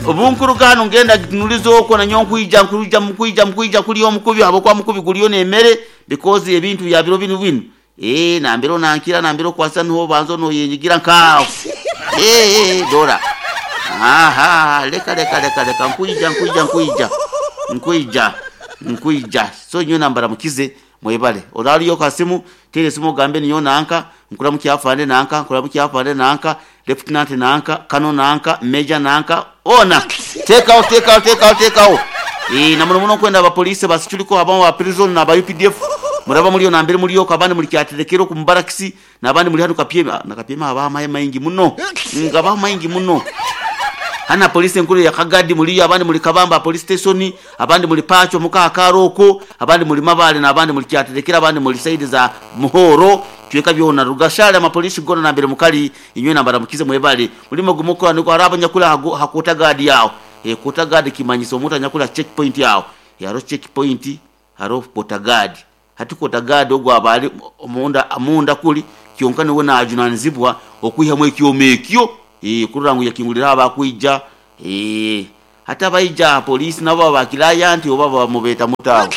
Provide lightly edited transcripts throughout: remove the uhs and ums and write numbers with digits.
Obunkuruga hanu ngenda gitunuliza okwo nanyowe nkwija nkwija nkwija nkwija kulya omukubi habwokuba omukubi guliyo n'emere because ebintu bya biro binu binu eeh nambere onankira nambere okwasa niho obanza noyenyigira nk'aho eeh dora ahaa leka leka leka leka nkwija nkwija nkwija nkwija nkwija so nyowe nambaramukize mwebale oraliyo ka simu teera esimu ogambe ninyowe nanka nkuramukya afande nanka nkuramukya afande nanka lieutenant nanka colonel nanka major nanka hoona teekaho teekaho teekaho teekaho eeh na muno muno nkwenda aba police ba security abamwe ba prison naba UPDF muraba muriyo nambere muri okwo abandi muri Kyaterekero oku mu barracks nabandi muri hanu Kapyemi na Kapyemi habaho amahe maingi muno gabaho maingi muno hanu aha police enkuru eya Kagadi muriyo abandi muri Kabamba aha police station abandi muri Pacho omuka aha kaaro okwo abandi muri Mabale nabandi muri Kyaterekero abandi muri side za Muhoro ebicweka byona Rugashari amapolice goona nambere mukari inywena mbaramukize mwebale murimo ogu mukukora nigwo hariho abanyakuri aha quarter guard aho quarter guard kimanyisa omuntu anyakuri aha check point aho hariho check point hariho quarter guard hati quarter guard ogwo aba ari omunda kuri kyonka niwe najunanizibwa okwihamu ekyoma ekyo kurora ngu yakinguriraho abakwija hati abaija aha police nabo baba ba client oba baba mubeeta muta abo?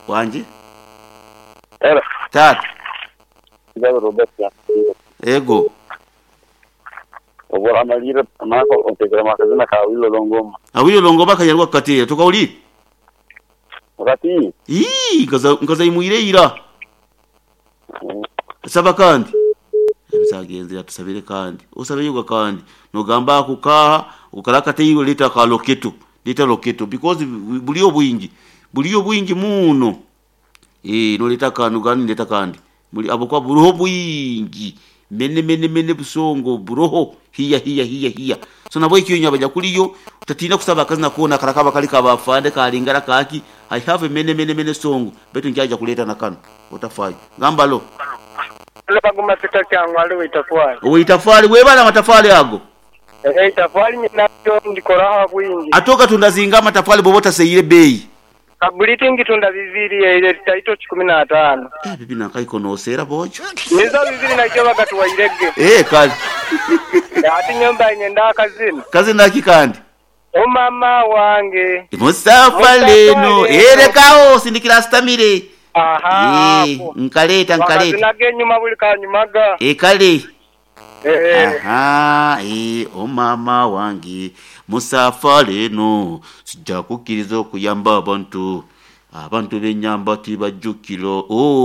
Wangi? Hello. Taata. Ngabe Robert Yakureeba. Ego. Obu oramalirra nanka onteekeremu akazina ka Awilo Longomba. Awilo Longomba akanyarwa kukateera tokahuriire? Okatiire? Ii, nkaza nkazaimwire ira. Saba kandi. Ebisagenzire atusabire kandi. Osabeyo kandi. Nogamba ako kaaha, okara akateirwe leeta aka loketo. Leeta loketo because buriyo bwingi. Buriyo bwingi muno. Eeh noreeta akandi nogamba nindeeta akandi. Buri ahabw'okuba buriho bwingi. Mene mene mene busongo buroho hiya hiya hiya hiya. So nabwekyo inywe abanyakuriyo otatiina kusaba akazina koona karakaba kari ka ba afande karingara kaaki I have a many many many song beitu nkyaija kureeta na kanu otafayo. Gamba lo. Baguma Peter Kyangwali ow'eitafaali. Ow'eitafaali webale amatafaali ago. Eitafaali nyinaryo ndikoraho ahabwingi. Ate ogatunda zinga amatafaali bwoba otaseire beeyi? Kabuliti ngitunda bibiri eire taito kikumi n'ataano. Eh bibi nankaiko noseera boojo. Nizo bibiri naija bagatuwaire ge. Eh kale. Ati nyowe mbaire nyenda akazina. Kazina ki kandi? O mama wange. Musafa leno. Eh lekawo sindikira asitamire. Aha Eh ako. nkaleeta nkaleeta. Wakazina ag'enyuma buli kanyumaga. Eh kale. Eh. Aha eh o mama wange musafa leno sijja kukkiriza okuyamba abantu abantu benyamba tibajjukira oh.